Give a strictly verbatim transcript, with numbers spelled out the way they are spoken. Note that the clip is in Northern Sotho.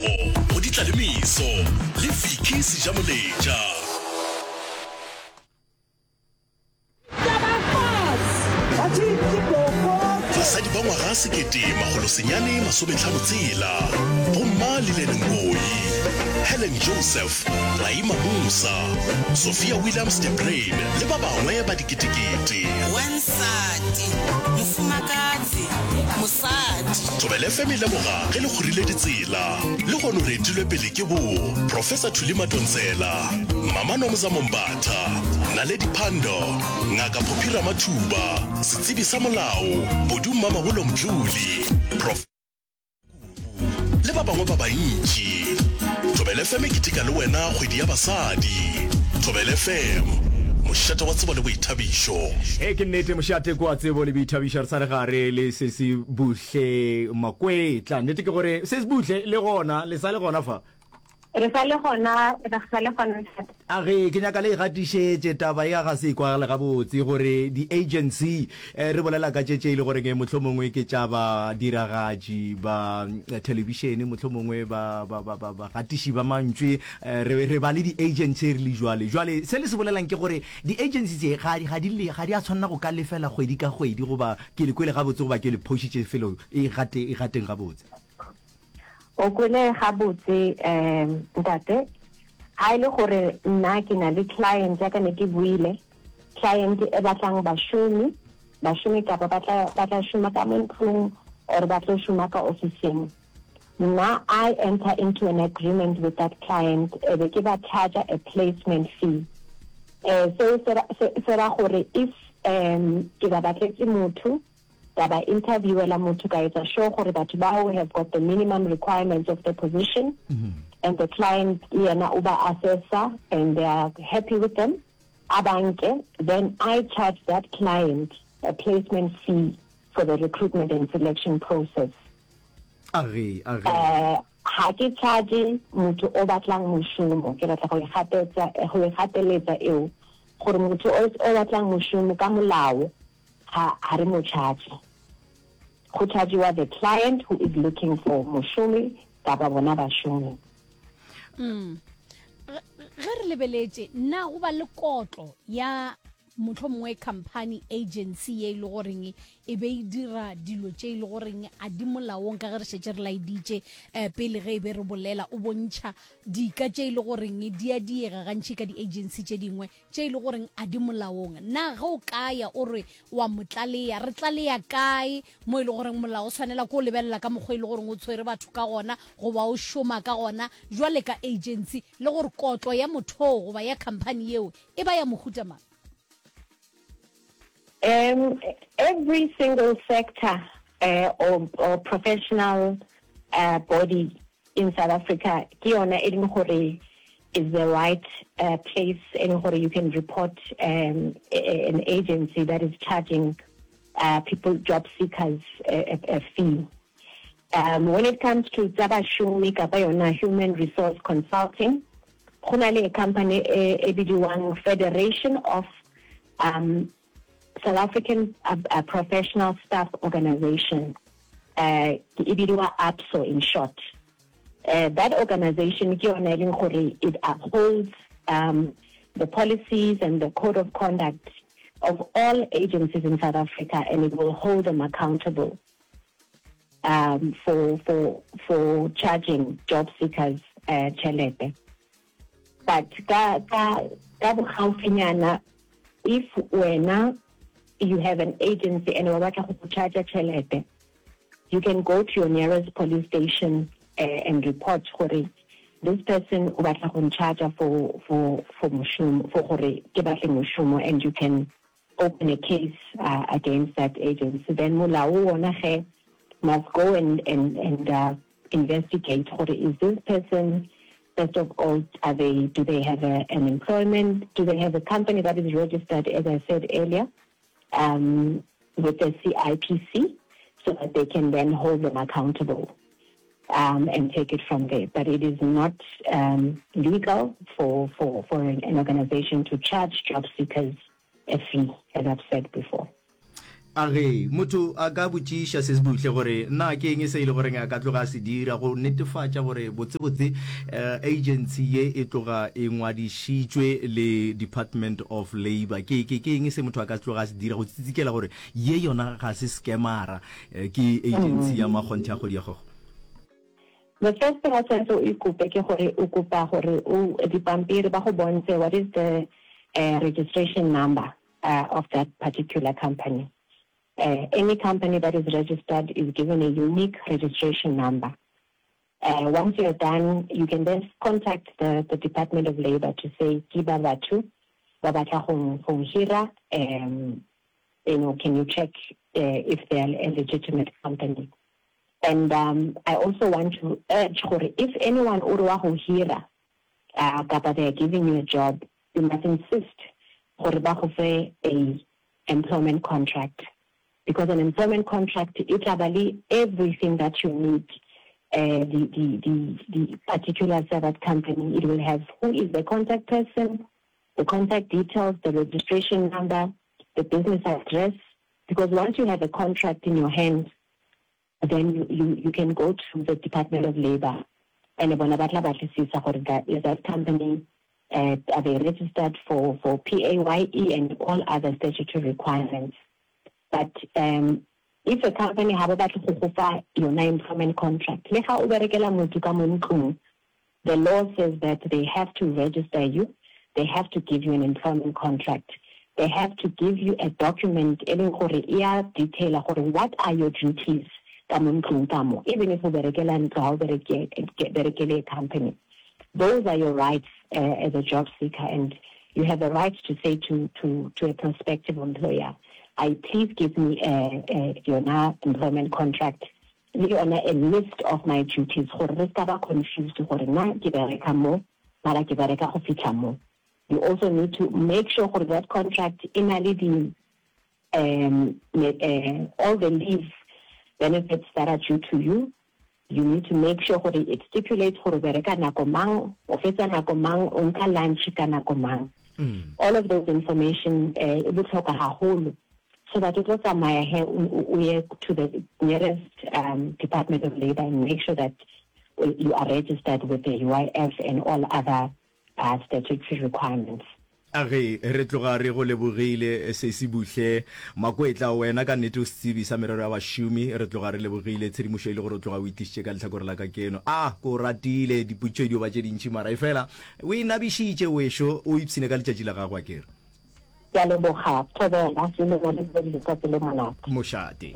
Go Ditlalemeso le Vicky Sejamoletša. Basadi ba ngwaga sekete makgolo senyane masometlhano tshela, Bomma Lillian Ngoyi, Helen Joseph, Raima Moosa, Sophia Williams de Bruyn le ba bangwe ba diketekete. Wansati, mofumakadzi, mosadi. Thobela F M e leboga ge le kgorile ditsela. Lehono re etilwe pele ke bo Professor Thuli Madonsela, Mama Nomzamo Mbatha, Naledi Pandor, Ngaka Phophi Ramathuba, setsebi sa molao Bodu Mmamabolo Mdluli, Prof le ba bangwe ba bantši. Thobela F M e keteka le wena kgwedi ya basadi. Thobela F M, mošate wa tsebo le boithabišo. Ee, ke nnete, mošate ke wa tsebo le boithabišo. Re sa le gare le Sesi Buhle Makwetla. Nnete ke gore Sesi Buhle le gona, le sa le gona fa? Re sa le gona, re sa le gona ntate. A ge ke nyaka le e gatišetše taba ya ga se e kwagale gabotse gore di-agency, eh, re bolela ka tše tše e le goreng mohlomongwe ke tša badiragatši ba thelebišene, mohlomongwe ba, ba, ba, ba, bagatiši ba mantšwe, eh, re, re ba le di-agency re le jwale. Jwale se le se bolelang ke gore di-agency tše ga, ga di le, ga di a tshwanela go ka lefela kgwedi ka kgwedi, goba ke le kwele gabotse goba ke le phošitše felo e gate, e gateng gabotse. O kwele gabotse, um, ntate. Ha e le gore nna ke na le client ya ka ne ke buile, client e batlang bašomi, bašomi kapa ba tla, ba tla šoma ka mo ntlong or ba tlo šoma ka ofising. Nna I enter into an agreement with that client, e be ke ba charge a placement fee. Eh, seo se ra, se, se ra gore if, um, ke ba batletse motho, ka ba interviewela motho, ka etsa sure gore batho bao have got the minimum requirements of the position, Mm-hmm. and the client le yena o ba assessa and they are happy with them, a banke, then I charge that client a placement fee for the recruitment and selection process. A ge, a ge. Eh, ga ke charge motho o batlang mošomo, ke batla go e gapetsa, go e gateletsa eo, gore motho o, o batlang mošomo ka molao, ga, ga re mo charge. Go chargewa the client who is looking for mošomi kapa bona bašomi. Mm. Ge, ge re lebeletše, na go ba le kotlo ya mohlomongwe company agency ye e le goreng e be e dira dilo tše e le goreng a di molaong, ka ge re šetše re laeditše, eh, pele ge e be re bolela, o bontšha dika tše e le goreng di a diega gantši ka di-agency tše dingwe tše e le goreng a di molaong. Na ge o kaya o re wa mo tlalea, re tlalea kae mo e le goreng molao o tshwanela ke o lebelela ka mokgwa e le goreng o tshwere batho ka gona goba o šoma ka gona jwale ka agency, le gore kotlo ya motho goba ya company yeo e ba ya mohuta mang? Um, every single sector, uh, or, or professional, uh, body in South Africa ke yona e leng gore is the right, uh, place e leng gore you can report, um, a, a, an agency that is charging, uh, people, job seekers, a, a, a fee. Um, when it comes to tsa bašomi kapa yona human resource consulting, go na le company e, e bidiwang Federation of, um, South African, uh, uh, Professional Staff Organization, uh, e bidiwa A P S O in short. Uh, that organization ke yona e leng gore it upholds, um, the policies and the code of conduct of all agencies in South Africa, and it will hold them accountable, um, for, for, for charging job seekers, uh, tšhelete. But ka, ka, ka bogaufinyana, if wena you have an agency and wa batla go go charge tšhelete, you can go to your nearest police station, uh, and report gore this person o batla go charge for, for, for mošomo, for gore ke batle mošomo, and you can open a case, uh, against that agency. Then molao ona ge must go and, and, and, uh, investigate gore is this person, first of all, are they, do they have a, an employment? Do they have a company that is registered, as I said earlier, um, with the C I P C, so that they can then hold them accountable, um, and take it from there. But it is not, um, legal for, for, for an, an organization to charge job seekers a fee, as I've said before. A ge motho a ka botšiša se se buhle gore na ke eng se e le goreng a ka tloga a se dira go netefatša gore botsebotse agency ye e tloga e ngwadišitšwe le Department of Labour, ke, ke, ke eng se motho a ka tloga a se dira go tsitsikela gore ye yona ga se scamara, ke agency ya makgonthe ya kgwedi ya kgogo? The first thing o tshwanetse o ikope ke gore o kopa gore o dipampiri ba go bontshe what is the uh, registration number uh, of that particular company. Uh, any company that is registered is given a unique registration number. Uh, once you're done, you can then contact the, the Department of Labor to say, ke ba batho ba batla go go hira, um, you know, can you check uh, if they are a legitimate company? And um, I also want to urge gore if anyone o re wa go hira, uh, kapa they are giving you a job, you must insist gore ba go fe a employment contract. Because an employment contract, e tla ba le everything that you need. Uh, the, the, the, the particulars of that company, it will have who is the contact person, the contact details, the registration number, the business address. Because once you have a contract in your hands, then you, you, you can go to the Department of Labor and bona ba tla batlisisa gore that is that company, uh, are they registered for, for P A Y E and all other statutory requirements. But um, if a company ha ba batle go go fa yona employment contract, le ga o berekela motho ka mo ntlong, the law says that they have to register you, they have to give you an employment contract, they have to give you a document e leng gore e a detail gore what are your duties ka mo ntlong ka mo, even if o berekela ntlo, ha o bereke, berekele a company. Those are your rights, uh, as a job seeker, and you have the right to say to, to, to a prospective employer, I please give me a, a, yona employment contract, le yona a list of my duties, gore re ska ba confused gore na ke bereka mo, mara ke bereka go fitlha mo. You also need to make sure gore that contract e na le di, um, uh, all the leave benefits that are due to you. You need to make sure gore it stipulates gore bereka nako mang, o fetsa nako mang, o nka lunch ka nako mang. Mm. All of those information, uh, e botlhokwa haholo, so that o tlo tsamaya he, o, o ye to the nearest, um, Department of Labor and make sure that you are registered with the U I F and all other, uh, statutory requirements. A ge re tloga re go lebogile Sesi Buhle Makwetla, wena ka nnete o setsebi sa merero ya bašomi, re tloga re lebogile tshedimošo e le gore o tloga o itlišitše ka lehlakore la ka keno. A ko ratile dipotšišo di ba tše dintši, mara e fela o e nabišitše wešo, o ipshine ka letšatši la gago a kere. Ke a leboga, thobela, ke leboga le letsatsi le monate. Mošate.